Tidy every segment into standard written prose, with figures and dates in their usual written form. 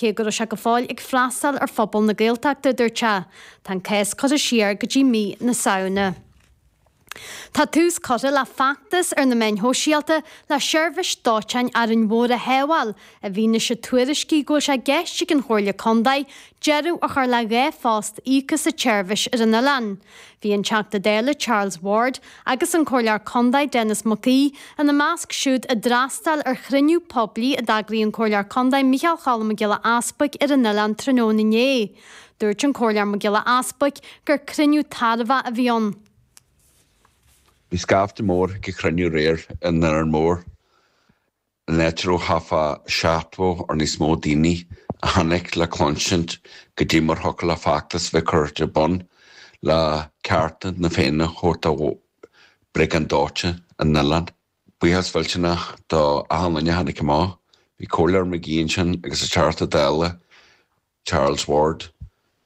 Cé go raibh sé go fóill ag freastal ar phobal na Gaeltachta, a dúirt sé. Tá an cás curtha siar go dtí mí na Samhna. Tá tús curtha le feachtas ar na meáin shóisialta le seirbhís dóiteáin Árainn Mhór a shábháil, i bhfianaise tuairiscí go bhfuil sé i gceist ag an Chomhairle Contae deireadh a chur le 2 phost íoctha sa tseirbhís ar an oileán. Bhí an Teachta Dála Charles Ward agus an Comhairleoir Contae Denis Mac Aoidh ina measc siúd a d'fhreastail ar chruinniú poiblí a d'eagraigh an Comhairleoir Contae Micheál Cholm Mac Giolla Easbuic ar an oileán tráthnóna inné. Dúirt an Comhairleoir Mac Giolla Easbuic gur cruinniú tairbheach a bhí ann. Bhí scaifte mór ag an chruinniú aréir in Árainn Mhór. An áit a raibh thart fá 70 or níos mó daoine a tháinig le cluinsint goidé mar thiocfadh le feachtas bheith curtha ar bun le cearta na Féinne a thabhairt do Bhriogáid Dóiteáin an oileáin. Buíochas mhillteanach do achan duine a tháinig amach. Bhí Comhairleoir McGee ansin agus an Teachta Dála Charles Ward.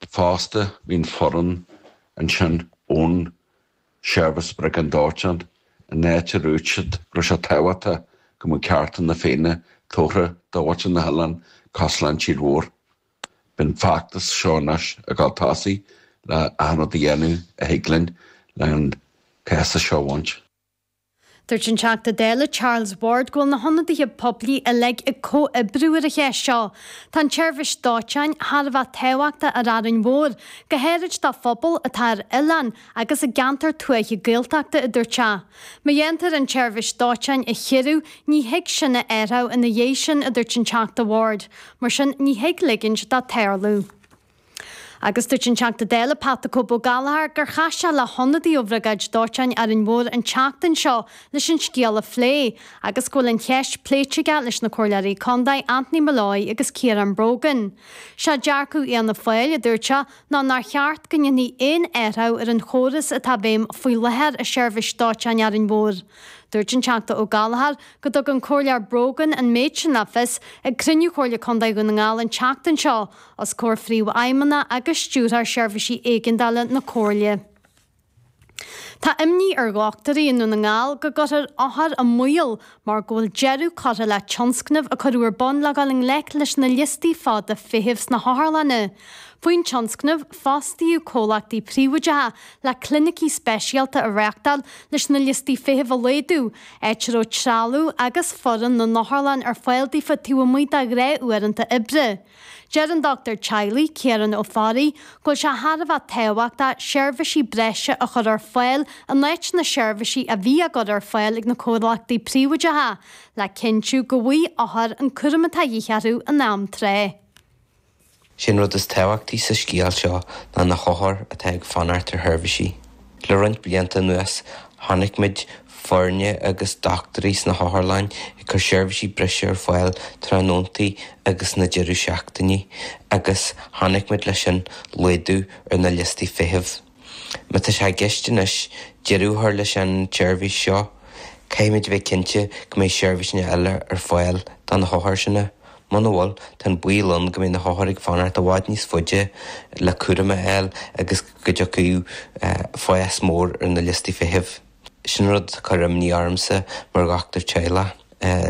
Fosta, bhí an foireann ansin ón Seirbhís Briogáid Dóiteáin, an áit a dúirt siad go raibh sé tábhachtach go mbeadh cearta na Féinne tabhartha do mhuintir na hoileáin cosúil leis an tír mhór. Beidh an feachtas seo anois ag dul tosaigh le achan rud a dhéanamh a thig linn le an cás seo a bhaint. Dúirt an Teachta Dála Charles Ward go bhfuil na hionadaithe poiblí uilig ag comhoibriú ar an cheist seo. Tá an tseirbhís dóiteáin thar a bheith tábhachtach ar Árainn Mhór, go háirid do phobal atá ar oileán agus i gceantar tuaithe Gaeltachta, a dúirt sé. Má dhéantar an tseirbhís dóiteáin a chiorrú, ní thig sin a athrú ina dhiaidh sin, a dúirt an Teachta Ward. Mar sin, ní thig ligint dó tarlú. Agus dúirt an Teachta Dála Pat 'The Cope' Ó Gallchóir gur chas sé le hionadaí ó Bhriogáid Dóiteáin Árainn Mhór an tseachtain seo leis an scéal a phlé agus go bhfuil an cheist pléite aige leis na Comhairleoirí Contae Anthony Molloy agus Ciarán Brogan. Sé dearcadh Fhianna Fáil, a dúirt sé, ná nár cheart go ndéanfaí aon athrú ar an chóras atá i bhfeidhm faoi láthair i Seirbhís Dóiteáin Árainn Mhór. Dúirt an Teachta Ó Gallchóir go dtug an Comhairleoir Brogan an méid sin le fios ag cruinniú Chomhairle Contae Dhún na nGall an tseachtain seo os comhair Phríomhfheidhmeannach agus Stiúrthóir Seirbhísí Éigeandála na Comhairle. Tá imní ar dhochtúirí i nDún na nGall go gcuirfear othair i mbaol mar go bhfuil deireadh curtha le tionscnamh a cuireadh ar bun le dhul i ngleic leis na liostaí fada feithimh sna hotharlanna. Faoin tionscnamh, fostaíodh comhlachtaí príobháideacha le clinicí speisialta a reáchtáil leis na liostaí feithimh a laghdú, áit a raibh trealamh agus foireann na n-otharlann ar fáil daofa taobh amuigh de ghnáthuaireanta oibre. Deir an dochtúir teaghlaigh, Ciarán Ó Fearraigh, go bhfuil sé thar a bheith tábhachtach seirbhísí breise a chur ar fáil in áit na seirbhísí a bhí á gcur ar fáil ag na comhlachtaí príobháideacha, le cinntiú go bhfaighidh othair an cúram atá de dhíth orthu in am tráth. Sé an rud is tábhachtaí sa scéal seo ná na hothair atá ag fanacht ar sheirbhísí. Le roinnt blianta anuas, chonaic muid foirne agus dochtúirí sna hotharlanna ag cur seirbhísí breise ar fáil tráthnóntaí agus na deireadh seachtainí agus chonaic muid leis sin laghdú ar na liostaí feithimh. Má tá sé i gceist anois deireadh a chur leis an tseirbhís seo, caithfimid a bheith cinnte go mbeidh seirbhísí eile ar fáil do na hothair sin. Muna bhfuil, tá an baol ann go mbeidh na hothair ag fanacht i bhfad níos faide le cúram a fháil agus go dtiocfaidh fás mór ar na liostaí feithimh. Sin an rud atá ag cur imní ormsa mar dhochtúir teaghlaigh.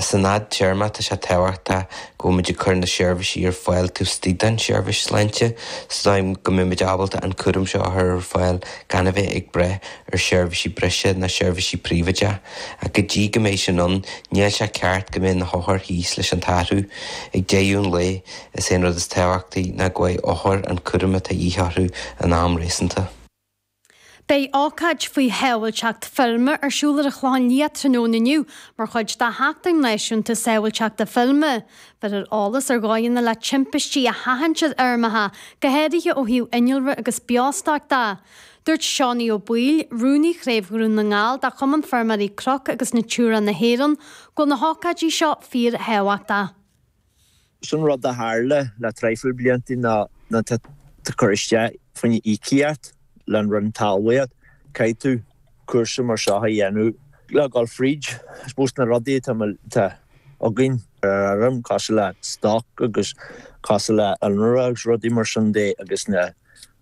San fhadtéarma tá sé tábhachtach go bhfuil muid ag cur na seirbhísí ar fáil taobh istigh den seirbhís sláinte sa dóigh go mbeidh muid ábalta an cúram seo a chur ar fáil gan a bheith ag brath ar sheirbhísí breise ná seirbhísí príobháideacha. Ach go dtí go mbeidh sin ann, níl sé ceart go mbeidh na hothair thíos leis an t-athrú. Ag deireadh an lae, is é an rud is tábhachtaí ná go bhfaighidh othair an cúram atá de dhíth orthu in am réasúnta. Beidh ócáid faoi shábháilteacht feirme ar siúl ar an Chlochán Liath tráthnóna inniu mar chuid de Sheachtain Náisiúnta Sábháilteachta Feirme. Beirfear eolas ar dhóigheanna le timpistí a sheachaint ar fheirmeacha, go háirithe ó thaobh innealra agus beostoic de. Dúirt Seánie Ó Baoill, Rúnaí Chraobh Dhún na nGall de Chumann Feirmeoirí Cnoc agus Natura na hÉireann, go bhfuil na hócáidí seo fíorthábhachtach. Sin rud a tharla le traidhfil blianta ná nuair atá tú ag cur isteach fá choinne íocaíocht le an Roinn Talmhaíocht, caithfidh tú cúrsa mar seo a dhéanamh le dhul fríd, I suppose, na rudaí atá againn ar an fheirm, cosúil le stoc agus cosúil le innealra agus rudaí mar sin de agus na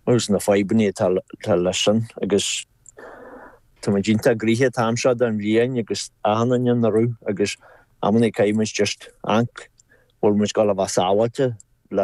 agus na fadhbanna atá leis sin agus tá muid iontach gnoitheach an t-am seo den bhliain agus achan duine ina raibh agus amannaí caithfidh muid just amharc bhfuil muid ag dul a bheith sábháilte.